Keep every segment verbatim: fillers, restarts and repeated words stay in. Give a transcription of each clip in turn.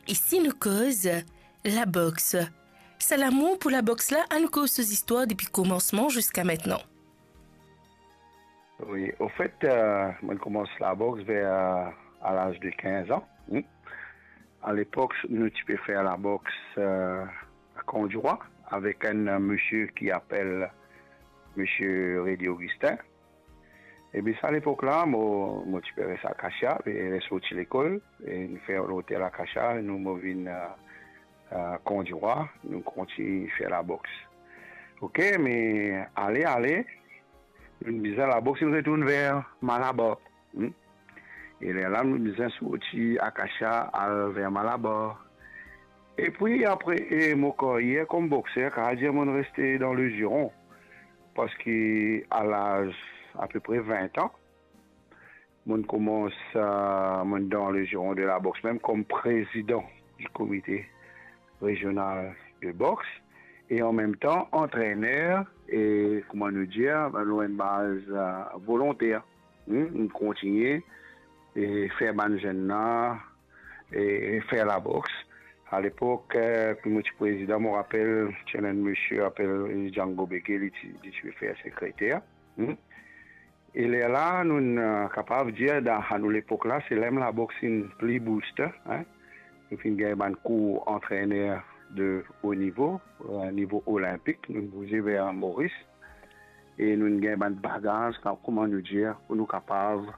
E si nou koz labox? Sa lamour pou labox la, ann koz so zistwar depi komansman ziska mintnan. Wi, ofet, euh, mo'nn koumans labox ver, euh, a laz de kinz an. Hmm. Alepok, nou ti pe fer labox, euh, a Kan Dirwa, avek enn, euh, misie ki apel misie Redi Augustin. Epi sa lepok la, mo, mo ti pe res Akasia, pe resorti lekol, e nou fer lotel Akasia, nou mo vinn, euh, euh, Kan Dirwa, nou kontign fer labox. Ok, me ale, ale, nou bizin labox, nou retourn ver Malabar. Hmm? E lerla, nou bizin sorti Akasia, al ver Malabar. Epi apre, e, mo karyer kom boxer, kapav dir mo'nn reste dan le giron. Parski a laz apepre vin an, mo'nn koumans, euh, mo'nn dan le giron de labox, mem kom prezidan di komite rezional de box, e an mem tan antrener, e kouma nou dir, lor enn baz, euh, volonter. Hmm, nou kontigne, e fer bann zenn la, e fer labox. Alepok, euh, ki mo ti prezidan, mo rapel, ti ena enn misie apel Django Beke, li ti, li ti fer sekreter. Hmm. E lerla, nou, euh, kapav dir, dan nou lepok la, se la mem labox inn pli booste, hein. Nou finn gagn bann kour antrener de o nivo, euh, nivo olinpik, nou bouze ver Moris. E nou gagn bann bagaz, kan, kouma nou dir, pou nou kapav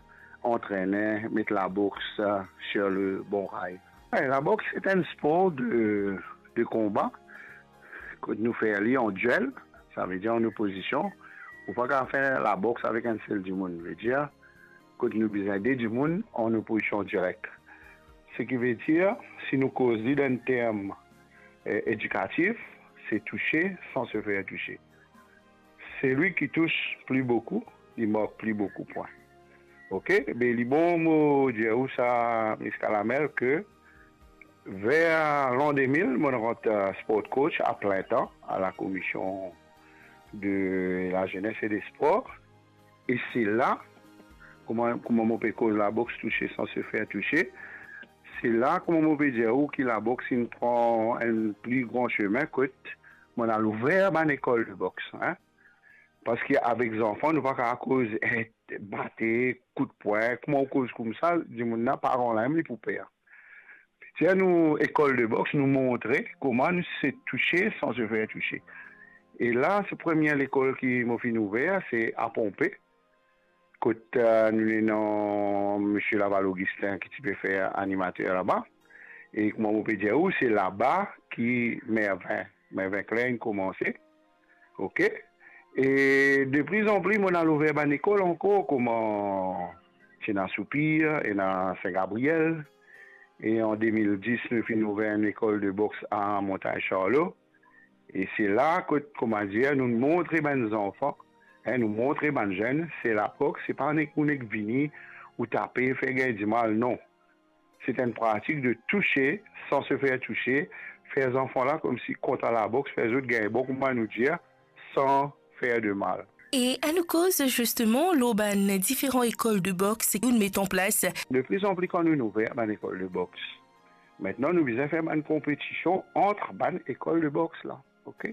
antrene, met labox, euh, sur le bon rail. E labox, se enn spor de, de konba. Kot nou fer li an duel, savedir an opozision. Ou pa kapav fer labox avek enn sel dimoun. Vedir, kot nou bizin de dimoun an opozision direk. Seki vedir, si nou koz li dan enn term, eh, edikatif, se touche san se fer touche. Selwi ki tous pli boukou, li mark pli boukou pwin. Ok? Be li bon mo dir ou sa, Miss Kalamel, ke ver lan de mil, mo rant, eh, sport coach a plin tan a la Commission de la Jeunesse et des Sports. E se la, kouma, kouma mo pe koz labox touche san se fer touche, se la, kouma mo pe dir ou, ki labox inn pran enn pli gran semin kot mo'nn al ouver bann lekol de box, hein. Parski avek zanfan, nou pa kapav koz, eh, bate, kout pwin, kouma ou koz koumsa, dimoun la, paran la mem, li pou per. Ti ena nou lekol de box, nou montre kouma nou se touche san se fer touche. E la, se premie lekol ki mo finn ouver, se a Ponpe, kot, eh, nou ena misie Laval Augustin ki ti pe fer animater laba. E kouma mo pe dir ou, se laba ki Mervin, Mervin Klein koumanse. Ok? E de pli an pli, mo'nn al ouver bann lekol ankor, kouma ti ena Soupir, ena Sin Gabriel. E an de mil dis, nou finn ouver enn lekol de box a Montagne Charlot. E se la kot, kouma dir, nou montre bann zanfan, hein, nou montre bann zenn, se labox, se pa nek ou nek vini, ou tape, fer gagn dimal, non. Se enn pratik de touche san se fer touche, fer zanfan la koumsi kontan labox, fer zot gagn bon, kouma nou dir, san fer de mal. E ann nou koz zisteman lor bann diferan lekol de box ki ou'nn met an plas. De pli an pli kan nou, nou ouver bann lekol de box, mintnan nou bizin fer bann konpetision ant bann lekol de box la, ok?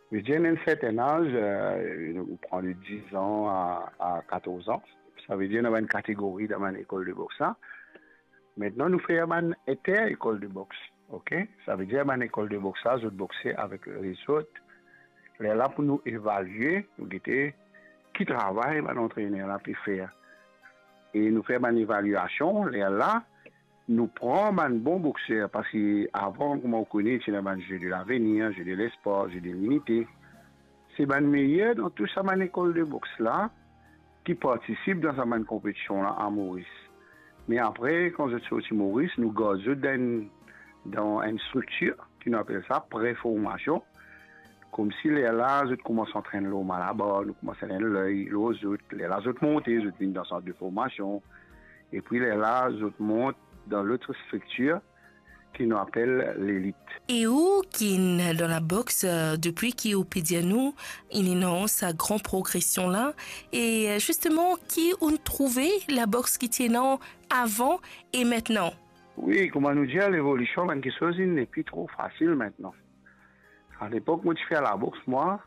Vedir, ena enn serten az, eh, ou pran de diz an a, a katorz an, savedir ena bann kategori dan bann lekol de box la. Mintnan nou fer bann inter-lekol de box, ok? Savedir bann lekol de box la, zot boxe avek lezot. Lerla pou nou evalie, nou gete ki travay bann antrener la pe fer. E nou fer bann evaliasion, lerla nou pran bann bon boxer, parski avan, kouma ou kone, ti ena bann Jeux de l'avenir, Jeux de l'espoir, Jeux de l'unité. Se bann meyer dan tou sa bann lekol de box la ki partisip dan sa bann konpetision la a Moris. Me apre, kan zot sorti Moris, nou gard zot dan enn, dan enn striktir ki nou apel sa pre-formasion. Koumsi lerla zot koumans antrenn lor Malabar, nou koumans antrenn lor zot. Lerla zot monte, zot vinn dan sant de formasion. Epi lerla zot mont dan lot striktir ki nou apel lelit. E ou ki'nn dan labox, eh, depi ki ou pe dir nou, inn ena sa gran progresion la, e, eh, zisteman, ki ou'nn trouve labox ki ti ena avan e mintnan? Wi, kouma nou dir, levolision, bann kiksoz, li nepli tro fasil aster. Alepok, mo ti fer laboks, mwa,